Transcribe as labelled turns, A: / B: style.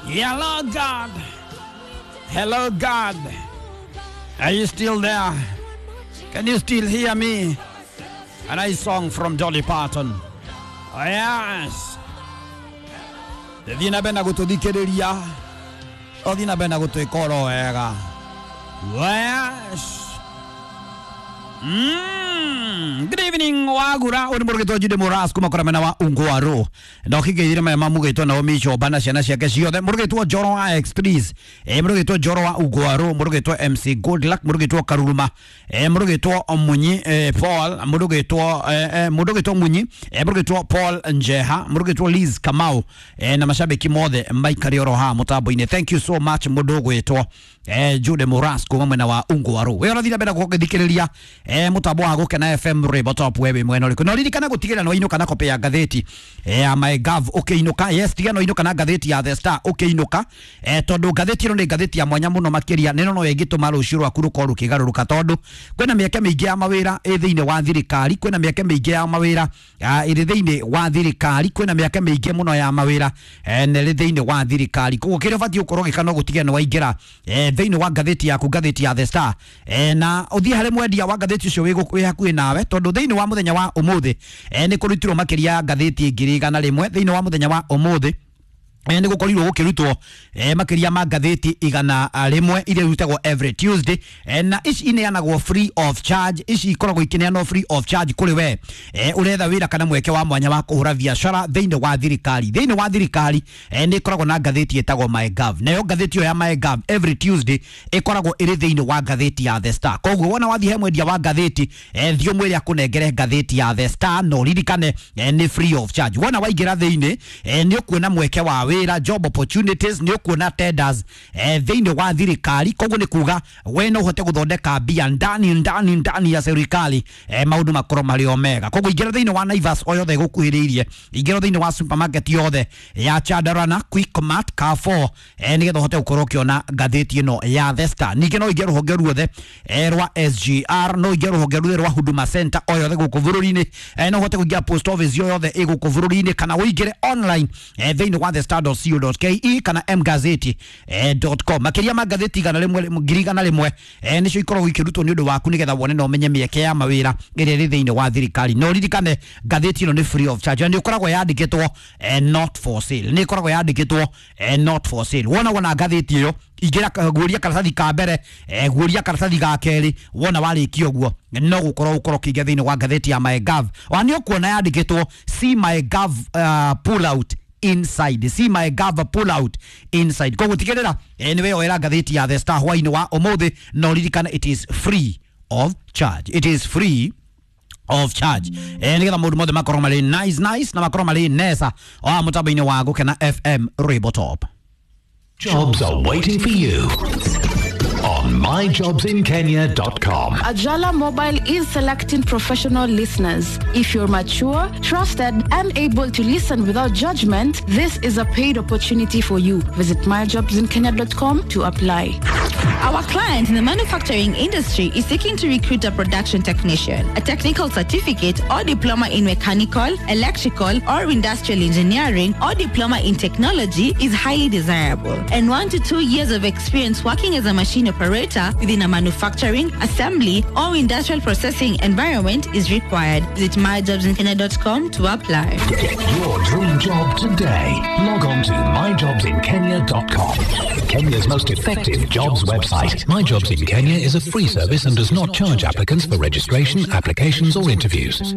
A: Hello God. Hello God. Are you still there? Can you still hear me? A nice song from Dolly Parton. Oh, yes. Thiĩ na mbere na gũtũthikĩrĩria, ũthiĩ na mbere na gũtwĩka oro wega. Yes. Good evening wagura uri murugitwo Jude Muras kuma kora mena wa Ungwaro na ukigeithire maya mamugitwo Naomi Chomba na ciana ciake ciothe, murugitwo Njoro wa X3, murugitwo Njoro wa Ungwaro, murugitwo MC Goodluck, murugitwo Karuruma, murugitwo Munyi, Paul, murugitwo murugitwo Munyi, murugitwo Paul Njeha, murugitwo Liz Kamau, na mashabiki mothe maikari oro ha mutambo-ini. Thank you so much mundu ugwitwo Jude Muras kuma mwena wa Ungwaro. We urathira mbere gũgĩthikĩrĩria mutambo wa Gũkena FM Rwĩmbo Top, we wĩ mwena ũrĩkũ? No ririkana gũtigĩrĩra no inũka na copy ya ngathĩti ya MyGov ũkĩinũka. Yes, tiga no inũka na ngathĩti ya The Star ũkĩinũka, tondũ ngathĩti ĩno nĩ ngathĩti ya mwanya mũno makĩria, nĩ no ĩngĩtũma rũciũ rwaku rũkorwo rũkĩgarũrũka, tondũ kwĩna mĩeke mĩingĩ ya mawĩra ĩ thĩinĩ wa thirikari, kwĩna mĩeke mĩingĩ ya mawĩra ĩrĩ thĩinĩ wa thirikari, kwĩna mĩeke mĩingĩ mũno ya mawĩra na ĩrĩ thĩinĩ wa thirikari. Koguo kĩrĩa ũbatiĩ gũkorwo ũgĩka no gũtigĩrĩra nĩ waingĩra thĩinĩ wa ngathĩti yaku, ngathĩti ya The Star, na ũthiĩ harĩ mwendia wa ngathĩti ũcio wĩ hakuhĩ nawe, tondũ thĩinĩ wa mũthenya wa ũmũthĩ nĩ kũrutirwo makĩria ya ngathĩti 100,000. Thĩinĩ wa mũthenya wa ũmũthĩ nĩ gũkorirwo gũkĩrutwo makĩria ma ngathĩti 100 iria irutagwo every Tuesday, na ici ineanagwo free of charge. Ici ikoragwo ikineanwo free of charge kũrĩ we ũretha wĩra kana mweke wa mwanya wa kũhũra biacara thĩinĩ wa thirikari. Thĩinĩ wa thirikari nĩ ĩkoragwo na ngathĩti ĩtagwo MyGov, nayo ngathĩti ĩyo ya MyGov every Tuesday ĩkoragwo ĩrĩ thĩinĩ wa ngathĩti ya The Star. Koguo wona wathiĩ he mwendia wa ngathĩti, thiĩ ũmwĩre akũnengere ngathĩti ya The Star, na ũririkane nĩ free of charge. Wona waingĩra thĩinĩ nĩ ũkuona mweke wa wĩra, job opportunities, nĩ ũkuona tenders thĩinĩ wa thirikari. Koguo nĩ kuga we no ũhote gũthondeka mbia ndani ndani ndani ya serikali, maũndũ makorwo marĩ o mega. Koguo ingĩra thĩinĩ wa Naivas o yothe ĩgũkuhĩrĩirie, ingĩra thĩinĩ wa supermarket yothe ya Chandarana, Quickmart, Carrefour, nĩgetha ũhote gũkorwo ũkĩona ngathĩti ĩno ya The Star. Ningĩ no ũingĩre rũhonge ruothe rwa SGR, no ũingĩre rũhonge ruothe rwa Huduma Center o yothe gũkũ bũrũri-inĩ, no ũhote kũingĩra post office o yothe ĩ gũkũ bũrũri-inĩ, kana ũingĩre online thĩinĩ wa thestar.co.ke kana mgazeti.com. Makĩria ma ngathĩti 100,000 nĩcio ikoragwo ikĩrutwo nĩ ũndũ waku, nĩgetha wone na ũmenye mĩeke ya mawĩra ĩrĩa ĩrĩ thĩinĩ wa thirikari. Na ũririkane ngathĩti ĩno nĩ free of charge, na nĩ ĩkoragwo yandĩkĩtwo not for sale, nĩ ĩkoragwo yandĩkĩtwo not for sale. Wona wona ngathĩti ĩyo, ingĩra guoria karatathi ka mbere, guoria karatathi ga kerĩ, wona warĩkia ũguo no gũkorwo ũkorwo ũkĩingĩra thĩinĩ wa ngathĩti ya MyGov, ona nĩ ũkuona yandĩkĩtwo see MyGov pull out inside, see MyGov pull out inside. Koguo tigĩrĩra nĩ weyoera ngathĩti ya The Star hwainĩ wa ũmũthĩ, na ũririkane it is free of charge, it is free of charge, nĩgetha maũndũ mothe makorwo marĩ nice nice na makorwo marĩ nesa wa mũtambo-inĩ wa Gũkena FM Rwĩmbo Top.
B: Jobs are waiting for you on myjobsinkenya.com.
C: Ajala Mobile is selecting professional listeners. If you're mature, trusted, and able to listen without judgment, this is a paid opportunity for you. Visit myjobsinkenya.com to apply.
D: Our client in the manufacturing industry is seeking to recruit a production technician, a technical certificate or diploma in mechanical, electrical, or industrial engineering, or diploma in technology is highly desirable, and 1 to 2 years of experience working as a machine operator within a manufacturing, assembly, or industrial processing environment is required. Visit myjobsinkenya.com to apply.
B: Get your dream job today. Log on to myjobsinkenya.com. Kenya's most effective jobs website. My Jobs in Kenya is a free service and does not charge applicants for registration, applications, or interviews.